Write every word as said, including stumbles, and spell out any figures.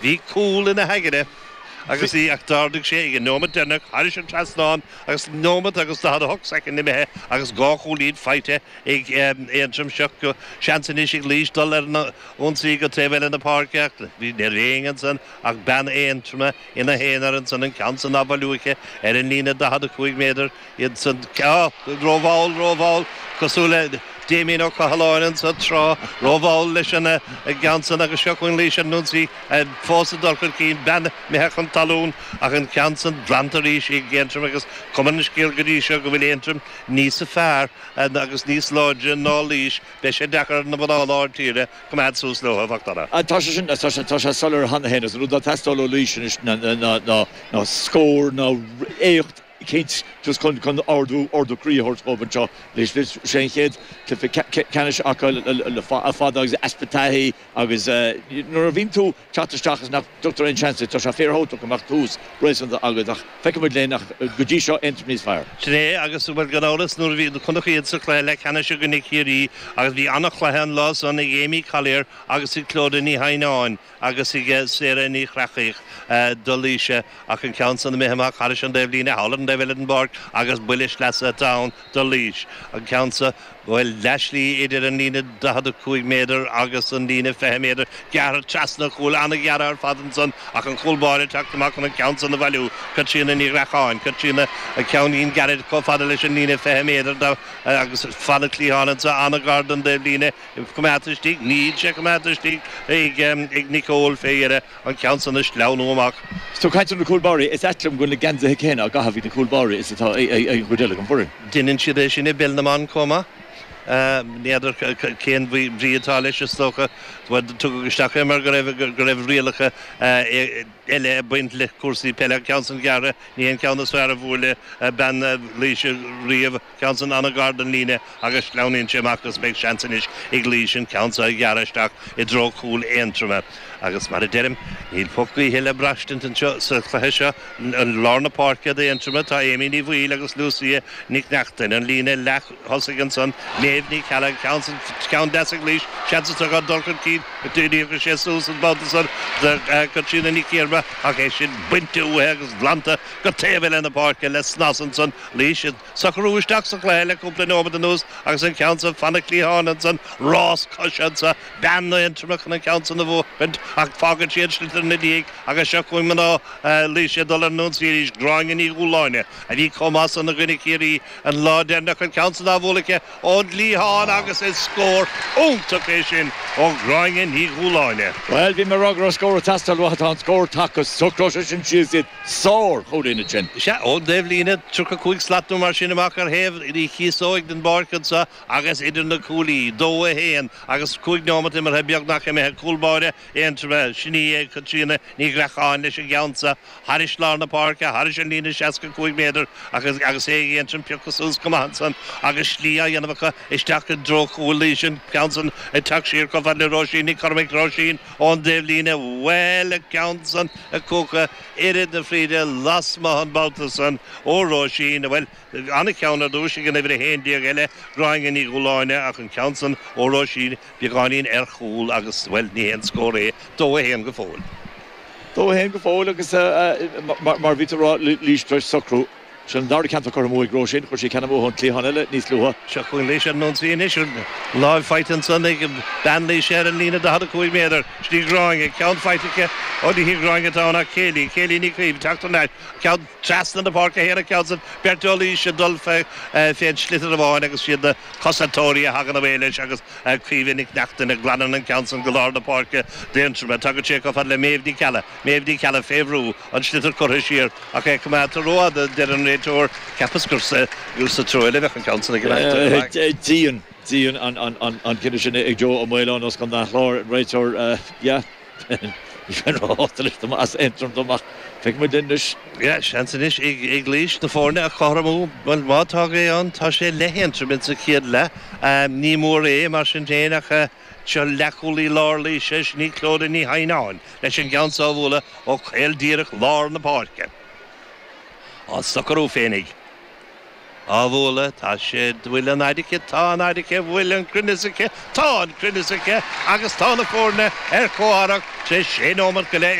Bhí cúl ina haigne agus í ach d'ardaigh sé ag an nóiméad deireanach thairis an trasnán agus nóiméad agus daichead a hocht soicind imithe agus dhá chúilín faighte ag Aontroim. Seo go seans anois ag Laois dul ar an ionsaí go taobh eile na páirce ach ní raibh éinne ansan ach bean Aontroma ina haonar ansan an ceann san á bhailiú aici ar an líne daichead a cúig méadar iad san rómhall rómhall cosúil le Damien Ó Cathaláin anso tráth rómhall leis an gceann san agus seo chugainn Laois ar an ionsaí fós ag dul chun cinn bean imithe chun talún ach an ceann san glanta arís ag Aontroim agus cuma an scéil go dtí seo go bhfuil Aontroim níos fearr agus níos láidre ná Laois beidh sé deacair na mná lár tíre coimeád suas leo a Mhac Tá sé sin tá sé soiléir cheana féin an rud atá ag teastáil ó Laois anois ná ná scór ná éacht eicínt just chun chun ardú ardú croí a thabhairt dóibh anseo leis sé an chéad cluiche ceannais acu le fada agus easpa taithí agus nuair a bhíonn tú teacht isteach is nach dtugtar aon seans tá sé fíorthábhachtach go mbeadh tús réasúnta agat ach feicfimid linn ach go dtí seo Aontroim níos fearr. Sin é agus bhuel gan amhras nuair a bhí chonac iad sa chluiche leathcheannais i gcoinne Chiarraí agus bhí an-chluiche an lá san ag Amy Collier agus ag Clodagh Ní Hadhnáin agus ag Sarah Ní Chreachaigh do Laois ach an ceann san imithe amach thairis an dtaobhlíne thall ar an dtaobh eile den bpáirc agus buille sleasa atá ann do Laois. An ceann sa bhfuil leathshlí idir an líne daichead a cúig méadar agus an líne fiche méadar gearrtha trasna chúl an-ghearrtha ar fad ansan ach an cúl báire teacht amach chun an ceann san a bhailiú Caitríona Ní Ghreacháin Caitríona a ceannín gairid chomh fada leis an líne fiche méadar agus fan an cliathán anso an-ghar don dtaobhlíne coimeádta istigh níl sé coimeádta istigh ag ag Nicole fé dheireadh an ceann san a sleamhnú amach. Is tú ag caint ar na cúl báirí, is ait liom go bhfuil na geansaithe céanna á gcaitheamh ag na cúl báirí is atá ag an gcuid eile den bhfoireann. Deineann siad é sin i bpeil na mban chomh maith. N'fheadar cén bhrí atá leis is dócha tugadh isteach é mar go raibh go raibh rialacha eile ag baint le cúrsaí peile. An ceann san gearrtha ní an ceann is fearr a bhuaile bean Laois riamh ceann san an-ghar don líne agus sleamhnaíonn sé amach agus beidh seans anois ag Laois an ceann seo a ghearradh isteach i dtreo chúl Aontroma. Agus mar a deirim, níl puth gaoithe le braistint anseo sa chluiche seo an lár na páirce d'Aontroma tá Amy Ní Bhaoill agus Lucia Nic Neachtain an líne leath thosaigh ansan Méabh Ní Cheallaigh ceann san ceann deas ag Laois seans atá dul chun cinn d'éirigh sé suas an babhta san do Caitríona Nic Iarma ach é sin bainte uaithi agus glanta go taobh eile na páirce le snas ansan Laois socrú isteach sa chluiche le cúpla nóiméad anuas agus an ceann san fan an cliathán ansan rás coise anso bean Aontroma chun an ceann san a bhuachaint ach fágann siad sliotar ina diaidh agus seo chugainn mná Laois ag dul ar an ionsaí arís Gráinne Ní Dhúláine a bhí chomh maith san i gcoinne Chiarraí an lá deireanach an ceann san á bhualadh aici ón gcliathán agus is scór iontach é sin ó Ghráinne Ní Dhúláine. Well bhí mé ag rá go raibh scór ag teastáil uathu tá an scór tagtha socróidh sé sin síos iad sár chúilín ansin. Sea ón dtaobhlíne tríocha cúig slat nó mar sin amach ar thaobh na chíosóige den bpáirc anseo agus idir na cuaillí dó a haon agus cúig nóiméad imeartha beagnach imithe cúl báire Aontroma sin í Caitríona Ní Ghreacháin leis an gceann seo thairis lár na páirce thairis an líne seasca cúig méadar agus agus é ag Aontroim pioctha suas go maith ansan agus slí á dhéanamh acu isteach i dtreo chúl Laois an ceann san ag teacht siar chomh fada le Róisín Nic Chormaic Róisín ón dtaobhlíne bhuel an ceann san ag cuachadh oiread na fríde lasmuigh an babhta san ó Róisín bhuel an-cheann ar dtús ag an uimhir a haon déag eile Gráinne Ní Dhúláine ach an ceann san ó Róisín beagáinín ar chúl agus bhuel ní haon scór é dó a haon go fóill. Dó a haon go fóill agus mar bhí tú ag rá Laois tar éis socrú. Sin an dara ceann curtha amú ag Róisín, chuir sí ceann amú ón cliathán eile níos luaithe. Seo chugainn Laois ar an ionsaí anois láimh faighte ansan ag bean Laoise ar an líne daichead a cúig méadar. Sin í Gráinne, ceann faighte aici ó ní hí Gráinne atá ann ach Kayleigh, Kayleigh Ní Chaoimh teacht thar n-ais, ceann trasna na páirce féin an ceann san beirt ó Laois ag dul fén sliotar amháin agus siad na cosantóirí a thagann away leis agus Caoimhe Nic Neachtain ag glanadh an ceann san go lár na páirce d'Aontroim. Tagann sé chomh fada le Méabh Nic Ceallaigh, Méabh Nic Ceallaigh fé bhrú, an sliotar curtha siar ach é coimeádta rófhada deir an réiteoir, cheapas gur sa treo eile a bheadh an ceann san ag imeacht. Dian, dian an cinneadh sin ag Joe Ó Maoláin as Contae an Chláir, an réiteoir, yeah. Ní bheinn róshásta leis dá mba as Aontroim dom ach feicfidh muid anois. Yeah, seans anois ag ag Laois na foirne a chothromú. Bhuel, má tá gaoth ann, tá sé le hAontroim insa chéad leath. Ní mór é, mar sin féin, ach seo leathchúlaí lár Laoise, sin í Clodagh Ní Hadhnáin, leis an gceann so a bhualadh ó chaol díreach lár na páirce. Á socrú féinig. Á bhualadh, tá sé, bhfuil an fhaid aici, tá an fhaid aici, bhfuil an cruinneas aici, tá an cruinneas aici agus tá na foirne ar comhtharrac tar éis sé nóiméad go leith.